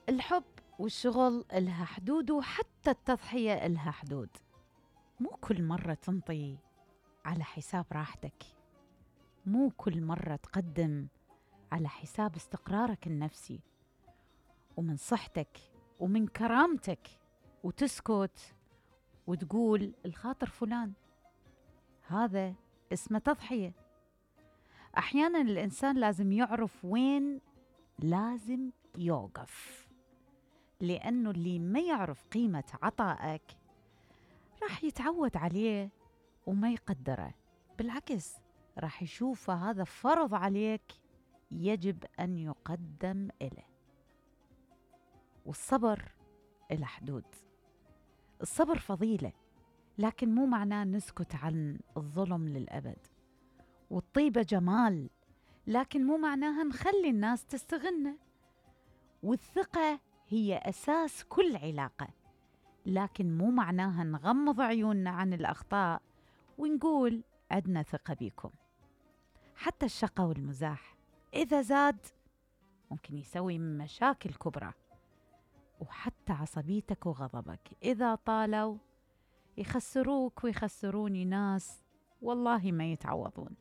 الحب والشغل إلها حدود، وحتى التضحية إلها حدود. مو كل مرة تنطي على حساب راحتك، مو كل مرة تقدم على حساب استقرارك النفسي ومن صحتك ومن كرامتك، وتسكت وتقول الخاطر فلان. هذا اسمه تضحية. أحيانا الإنسان لازم يعرف وين لازم يوقف، لأنه اللي ما يعرف قيمة عطائك راح يتعود عليه وما يقدره، بالعكس راح يشوفه هذا فرض عليك يجب أن يقدم إله. والصبر إلى حدود. الصبر فضيلة، لكن مو معناه نسكت عن الظلم للأبد. والطيبة جمال، لكن مو معناها نخلي الناس تستغلنا. والثقة هي أساس كل علاقة، لكن مو معناها نغمض عيوننا عن الأخطاء ونقول عدنا ثقة بيكم. حتى الشقة والمزاح إذا زاد ممكن يسوي مشاكل كبرى، وحتى عصبيتك وغضبك إذا طالوا يخسروك ويخسروني ناس والله ما يتعوضون.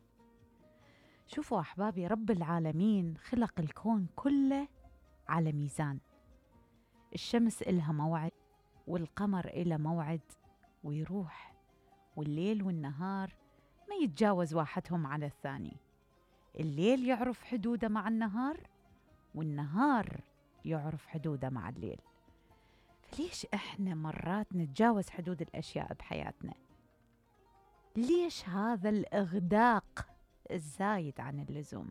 شوفوا أحبابي، رب العالمين خلق الكون كله على ميزان. الشمس إلها موعد والقمر إله موعد ويروح، والليل والنهار ما يتجاوز واحدهم على الثاني. الليل يعرف حدوده مع النهار، والنهار يعرف حدوده مع الليل. فليش إحنا مرات نتجاوز حدود الأشياء بحياتنا؟ ليش هذا الإغداق الزايد عن اللزوم؟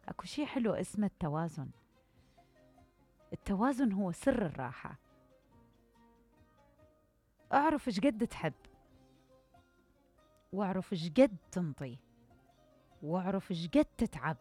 أكو شيء حلو اسمه التوازن. التوازن هو سر الراحة. اعرف ايش قد تحب، واعرف ايش قد تنطي، واعرف ايش قد تتعب،